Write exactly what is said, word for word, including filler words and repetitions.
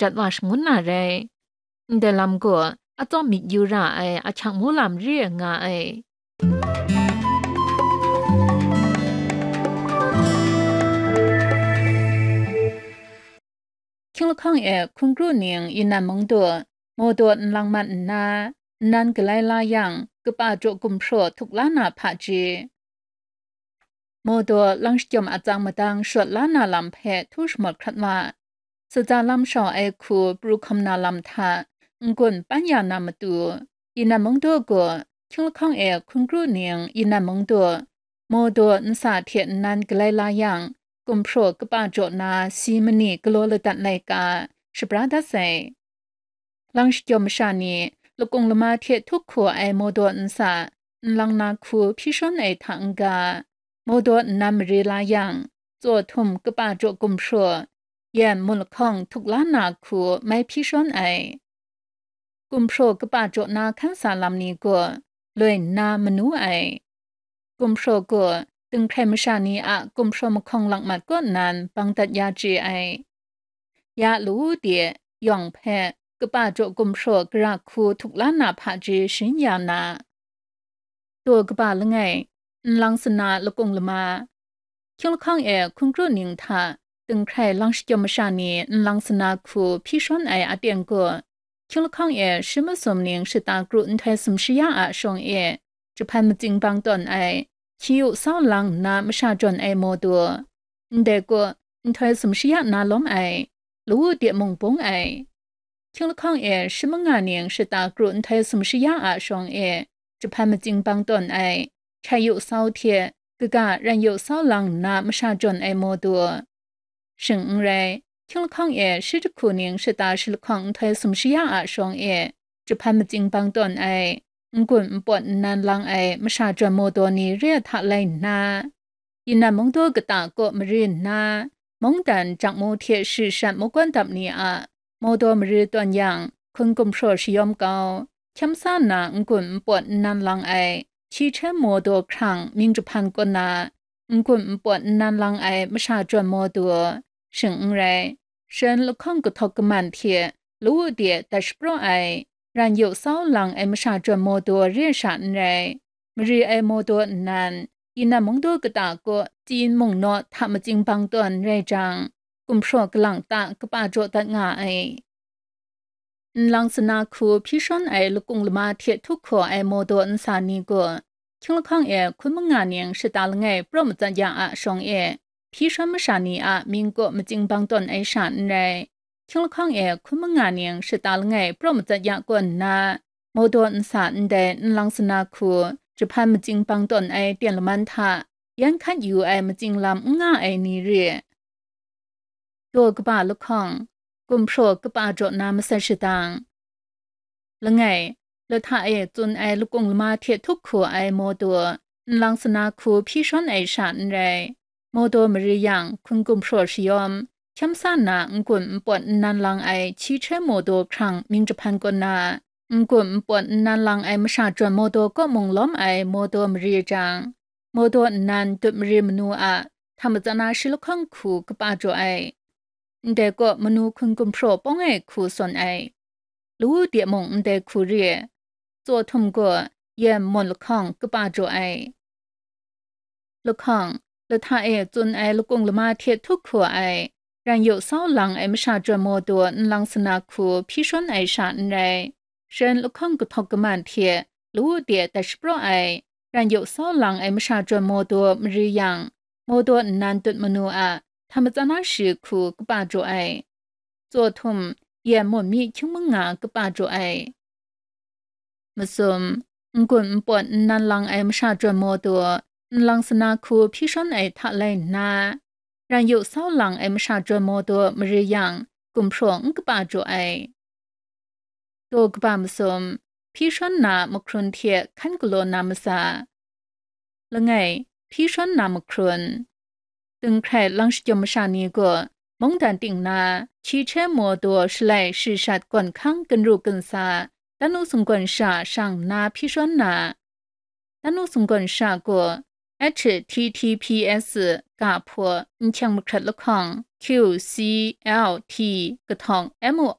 jat wa shangun na rai. Ndai lam gaw atsawm myit yu ra ai ahkyang mung lam re ai nga ai. Hkying lahkawng e hkun kru ning Yinan mung du, Mawdaw nlang mat nna, nnan galai la yang, kaba jaw gumhpraw htuk la na hpaji. Mawdaw lang shajawm atsang madang shawt la na lam hpe htu shamawt hkrat wa. Saja lam shau ai hku pru hkawm na lam hta n-gun pan ya na matu, Yinan mung du gaw, hkying lahkawng e hkun kru ning Yinan mung du, Mawdaw nsa hte nnan galai la yang, gumhpraw kaba jaw na si mani galaw ladat laika, shabra dat sai. Lang shajawm masha ni, lakung lama hte htuk hku ai Mawdaw nsa, nlang na hku hpyi shawn ai hta n-ga, Mawdaw nnan mare la yang, tsaw htum kaba jaw gumhpraw, yan mun lahkawng htuk la na hku mai hpyi shawn ai. Gumhpraw kaba jaw na hkan sa lam ni gaw, loi nna manu ai. Gumhpraw gaw, dinghkrai masha ni a gumhpraw mahkawng lakmat kaw nan bang dat ya chye ai. Ya lawu de, yawng hpe, kaba jaw gumhpraw gara hku htuk la na hpaji sharin ya na. Daw kaba langai, nlang sana lakung lama. Hkying lahkawng e hkun kru ning hta, dinghkrai lang shajawm masha ni nlang sana hku hpyi shawn ai aten gaw, hkying lahkawng e shi masum ning shata kru nhtoi sumshi ya a shawng e, jahpan matsing bang tawn ai, hkyi yu sau lang nna masha jawn ai Mawdaw. Ndai gaw, nhtoi sumshi ya na lawm ai, lawu de mung bung ai. Hkying lahkawng e shi manga ning shata kru nhtoi sumshi ya a shawng e, jahpan matsing bang tawn ai, hkyi yu sau hte, kaga ran yu sau lang nna masha jawn ai Mawdaw. Shing n rai, hkying lahkawng e shi jahku ning shata shi lahkawng nhtoi sumshi ya a shawng e, jahpan matsing bang tawn ai, n-gun npawt nnan lang ai masha jawn Mawdaw ni re ai hta lai nna, Yinan mung du kata kaw mari nna, mungdan jakmu hte shi shat makawn dap ni a Mawdaw mari tawn yang, hkun gumhpraw shayawm kau, hkyam sa na n-gun npawt nnan lang ai, hkyi hte Mawdaw hkrang mying jahpan kaw na, n-gun npawt nnan lang ai masha jawn Mawdaw, shing n rai, shan lahkawng kahtawk kaman hte lawu de dat shapraw ai, ran yu sau lang ai masha jawn Mawdaw re sha n rai, mari ai Mawdaw nnan, Yinan mung du kata kaw tsin mung naw hta matsing bang tawn rai jang, gumhpraw kalang ta kaba jaw dat nga ai. Nlang sana hku hpyi shawn ai lakung lama hte htuk hku ai Mawdaw nsa ni gaw, hkying lahkawng e hkun manga ning shata langai praw matsat ya a shawng e, hpyi shawn masha ni a mying kaw matsing bang tawn ai sha n rai, hkying lahkawng e hkun manga ning shata langai praw matsat ya kaw nna, Mawdaw nsa ndai nlang sana hku jahpan matsing bang tawn ai ten laman hta yan hkat yu ai matsing lam n nga ai ni re. Daw kaba lahkawng, gumhpraw kaba jaw na masat shadang. Langai, lahta e tsun ai lakung lama hte htuk hku ai Mawdaw, nlang sana hku hpyi shawn ai sha n rai. Mawdaw mari yang, hkun gumhpraw shayawm, hkyam sa na n-gun npawt nnan lang ai hkyi hte Mawdaw hkrang mying jahpan kaw na, n-gun npawt nnan lang ai masha jawn Mawdaw kaw mung lawm ai Mawdaw mari jang, Mawdaw nnan dut mari manu a hta matsat na shi lahkawng hku kaba jaw ai. Ndai kaw manu hkun gumhpraw pawng ai hku sawn ai. Lawu de mung ndai hku re. Tsaw htum gaw yan mawn lahkawng kaba jaw ai. Lahkawng, lahta e tsun ai lakung lama hte htuk hku ai, ran yu sau lang ai masha jawn Mawdaw nlang sana hku hpyi shawn ai sha n rai. Shan lahkawng kahtawk kaman hte lawu de dat shapraw ai, ran yu sau lang ai masha jawn Mawdaw mari yang, Mawdaw nnan dut manu a hta matsat na shi hku kaba jaw ai. Tsaw htum, yan mawn mi hkying manga kaba jaw ai. Masum, n-gun npawt nnan lang ai masha jawn Mawdaw, nlang sana hku hpyi shawn ai hta lai nna, ran yu sau lang ai masha jawn Mawdaw mari yang, gumhpraw n kaba jaw ai. Daw kaba masum, hpyi shawn na mahkrun hte hkan galaw na masa. Langai, hpyi shawn na mahkrun. Dinghkrai lang shajawm masha ni gaw, mungdan ting na, hkyi hte Mawdaw shalai shi shat gawn hkang gun ru gun sa, dan nu sung gawn sha shang nna hpyi shawn na, dan nu sung gawn sha gaw, H T T P S ga hput, nhkyeng mahkrat lahkawng, Q C L T kahtawng M O